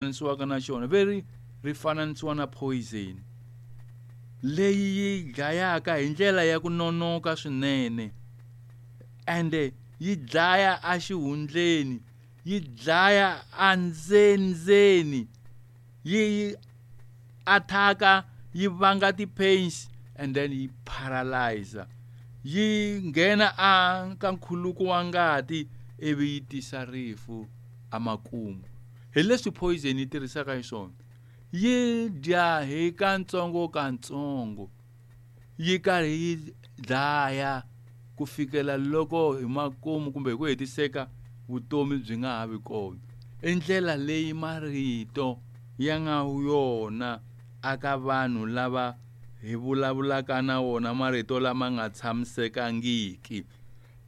Fananisiwaka na xona veri ri fananisiwa na poison leyi yi dlayaka hi ndlela ya ku nonoka swinene, ende yi dlaya exihundleni, yi dlaya endzendzeni, yi attack-a, yi vanga ti-pains and then yi paralyzer, yi nghena a ka nkhuluko wa ngati ivi yi tisa rifu emakumu. Hi leswi poison yi tirhisaka xiswona, yi dya hi katsongokatsongo, yi karhi yi dlaya ku fikela loko hi makumu kumbe hi ku hetiseka vutomi byi nga ha vi kona. I ndlela leyi marito ya nga yona aka vanhu lava hi vulavulaka na wona, marito lama nga tshamisekangiki.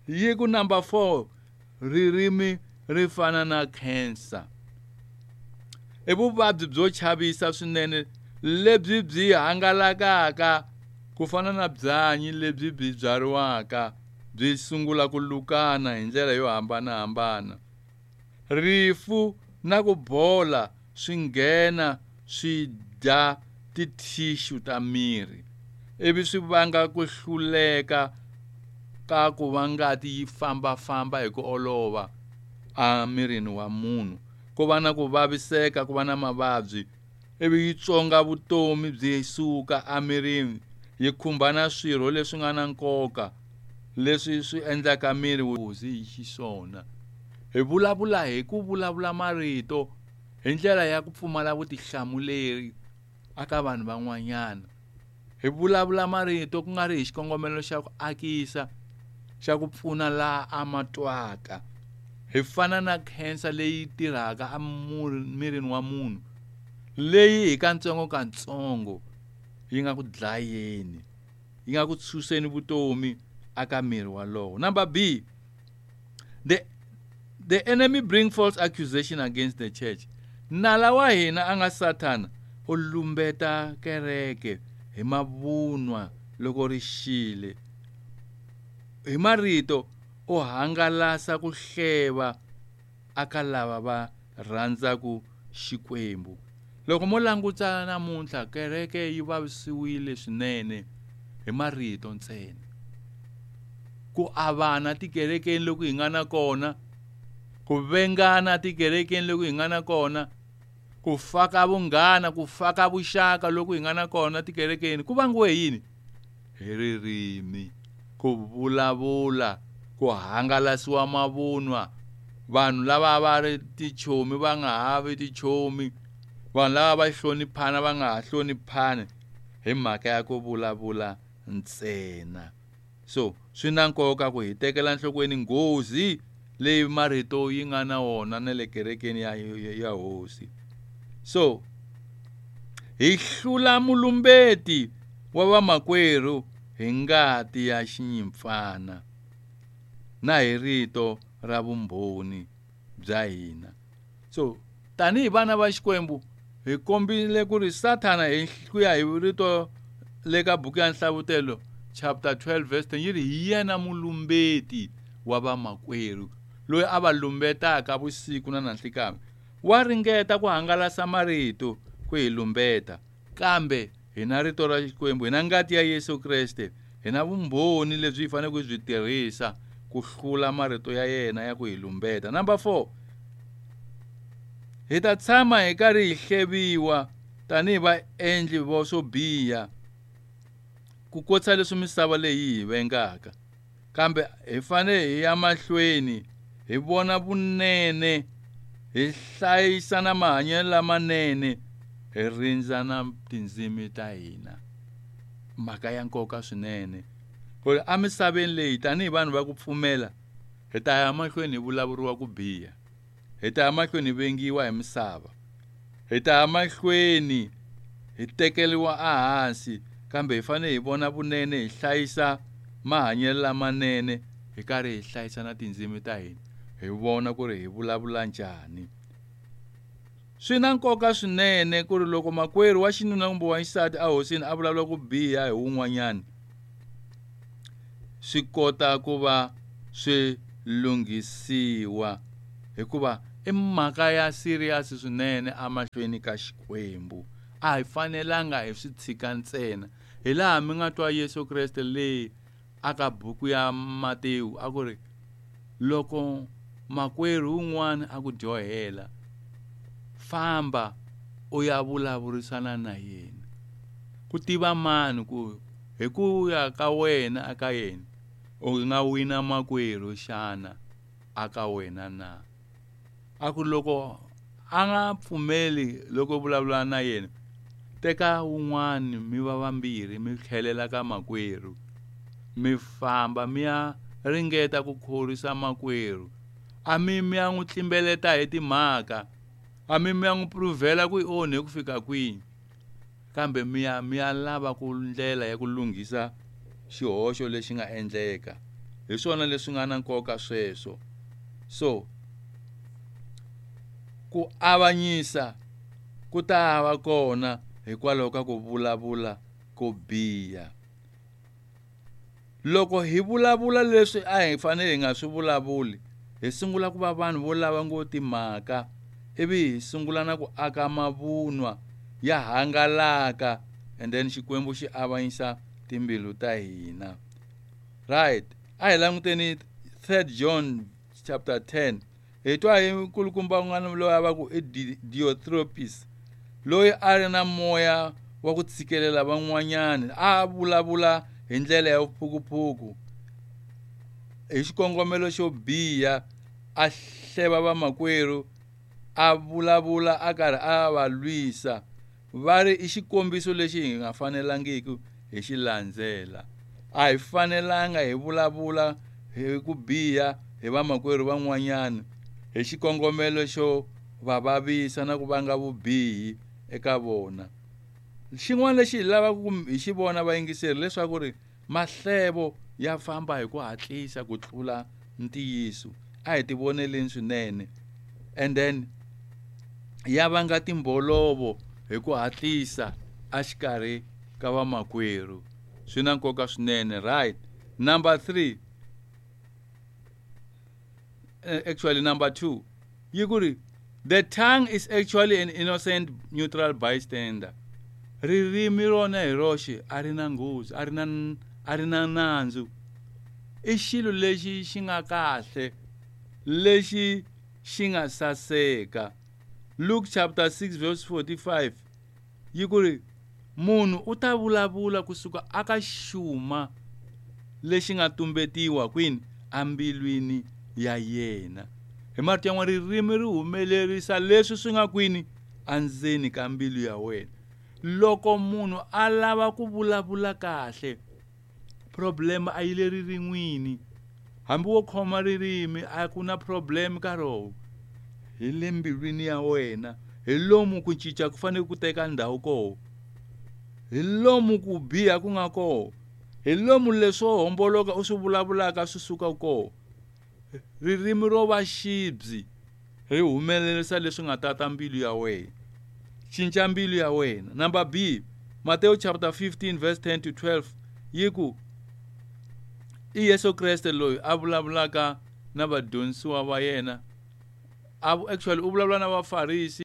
Yi ku number 4, ririmi ri fana na cancer. I vuvabyi byo chavisa swinene lebyi byi hangalakaka ku fana na byanyi lebyi byi byariwaka byi sungula ku lukana hi ndlela yo hambanahambana. Rifu na ku bola swi nghena swi dya ti-tissue ta miri ivi swi vanga ku hluleka ka ku va ngati yi fambafamba hi ku olova emirini wa munhu, ku va na ku vaviseka, ku va na mavabyi, ivi yi tswonga vutomi byi suka emirini, yi khumba na swirho leswi nga na nkoka leswi swi endlaka miri nghozi hi xiswona. Hi vulavula hi ku vulavula marito hi ndlela ya ku pfumala vutihlamuleri aka vanhu van'wanyana. Hi vulavula marito ku nga ri hi xikongomelo xa ku akisa, xa ku pfuna laha a ma twaka. Hi fana na cancer leyi tirhaka emirini wa munhu, leyi hi katsongokatsongo yi nga ku dlayeni, yi nga ku tshuseni vutomi aka miri walowo. Number B, the enemy bring false accusation against the church. Nala wa hina a nga Sathana u lumbeta kereke hi mavunwa loko ri xile. Hi marito u hangalasa ku hleva aka lava va rhandzaka Xikwembu. Loko mo languta namuntlha, kereke yi vavisiwile swinene hi marito ntsena. Ku avana tikerekeni loku hi nga na kona, ku vengana tikerekeni loku hi nga na kona, ku faka vunghana, ku faka vuxaka loku hi nga na kona tikerekeni, ku vangiwe yini? Hi ririmi, ku vulavula, ku hangalasiwa mavunwa. Vanhu lava va ri tichomi va nga ha vi tichomi, vanhu lava va hloniphana va nga ha hloniphani hi mhaka ya ku vulavula ntsena. So swi na nkoka ku hi tekela enhlokweni nghozi leyi marito yi nga na wona na le kerekeni ya hosi. So hi hlula mulumbeti wa vamakwerhu hi ngati ya xinyimpfana na hi rito ra vumbhoni bya hina. So tanihi vana va Xikwembu hi kombile ku ri Sathana hi ku ya hi rito le ka buku ya Nhlavutelo chapter 12 verse 10 yi ri hi yena mulumbeti wa vamakwerhu loyi a va lumbetaka vusiku na nanhlikani. Wa ringeta ku hangalasa marito ku hi lumbeta, kambe hi na rito ra Xikwembu, hi na ngati ya Yesu Kreste, hi na vumbhoni lebyi hi faneleke ku byi tirhisa ku hlula marito ya yena ya ku hi lumbeta. Number 4, hi ta tshama hi karhi hi hleviwa tanihi vaendli vo swo biha ku kotisa leswi misava leyi hi vengaka, kambe hi fanele hi ya mahlweni hi vona vunene, hi hlayisa na mahanyelo lamanene, hi rindza na tindzimi ta hina. Mhaka ya nkoka swinene ku ri emisaveni leyi tanihi vanhu va ku pfumela hi ta ya mahlweni hi vulavuriwa ku biha, hi ta ya mahlweni hi vengiwa hi misava, hi ta ya mahlweni hi tekeriwa ehansi, kambe hi fanele hi vona vunene, hi hlayisa mahanyelo lamanene, hi karhi hi hlayisa na tindzimi ta hina, hi vona ku ri hi vulavula njhani. Swi na nkoka swinene ku ri loko makwerhu wa xinuna kumbe wa xisati a hosini a vulavula ku biha hi wun'wanyana, swi kota ku va swi lunghisiwa, hikuva I mhaka ya serious swinene emahlweni ka Xikwembu. A hi fanelanga hi swi tshika ntsena. Hi laha mi nga twa Yesu Kreste leyi aka buku ya Matewu a ku ri loko makwerhu un'wana a ku dyohela, famba u ya vulavurisana na yena. Ku tiva mani ku hi ku ya ka wena aka yena u nga wina makwerhu xana aka wena na? A ku loko a nga pfumeli loko u vulavula na yena, teka wun'wani mi va vambirhi mi tlhelela ka makwerhu, mi famba mi ya ringeta ku khorwisa makwerhu. A mi mi ya n'wi tlimbeleta hi timhaka, a mi mi ya n'wi pruvhela ku i onhe ku fika kwini, kambe mi ya mi ya lava ku ndlela ya ku lunghisa xihoxo lexi nga endleka. Hi swona leswi nga na nkoka sweswo. So ku avanyisa ku ta va kona hikwalaho ka ku vulavula ko biha. Loko hi vulavula leswi a hi fanele hi nga swi vulavuli, hi sungula ku va vanhu vo lava ngo timhaka, ivi hi sungula na ku aka mavunwa ya hangalaka, and then Xikwembu xi avanyisa timbilu ta hina. Right, a hi languteni 3 John chapter 10. Hi twa hi nkulukumba un'wana loyi a va ku i Diotrephes, loyi a ri na moya wa ku tshikelela van'wanyana, a vulavula hi ndlela ya vuphukuphuku hi xikongomelo xo biha, a hleva vamakwerhu, a vulavula a karhi a va lwisa. Va ri i xikombiso lexi hi nga fanelangiki hi xi landzela. A hi fanelanga hi vulavula hi ku biha hi vamakwerhu van'wanyana hi xikongomelo xo va vavisa na ku vanga vubihi eka vona. Xin'wana lexi hi lavaka ku hi xi vona vayingiseri leswaku ri mahlevo ya famba hi ku hatlisa ku tlula ntiyiso. A hi tivoneleni swinene, and then ya vanga timbolovo hi ku hatlisa exikarhi ka vamakwerhu. Swi na nkoka swinene. Right, number 3, actually number 2, yi ku ri the tongue is actually an innocent neutral bystander. Ririmi rona hi roxe a ri na nghozi, a ri na nandzu. I xilo lexi xi nga kahle, lexi xi nga saseka. Luke chapter 6 verse 45 yi ku ri munhu u ta vulavula kusuka aka xuma lexi nga tumbetiwa kwini ambilwini ya yena. Hi marito yan'wana, ririmi ri humelerisa leswi swi nga kwini endzeni ka mbilu ya wena. Loko munhu a lava ku vulavula kahle, problem a yi le ririn'wini. Hambi wo khoma ririmi a ku na problem ka rona, hi le mbilwini ya wena. Hi lomu ku cinca ku fanele ku teka ndhawu koho, hi lomu ku biha ku nga koho, hi lomu leswo homboloka u swi vulavulaka swi suka koho. Ririmi ro va xibyi ri humelerisa leswi nga tata mbilu ya wena. Cinca mbilu ya wena. Number B, Matthew chapter 15 verse 10 to 12 yi ku i Yesu Kreste loyi a vulavulaka na vadyondzisiwa va yena. Actually u vulavula na Vafarisi.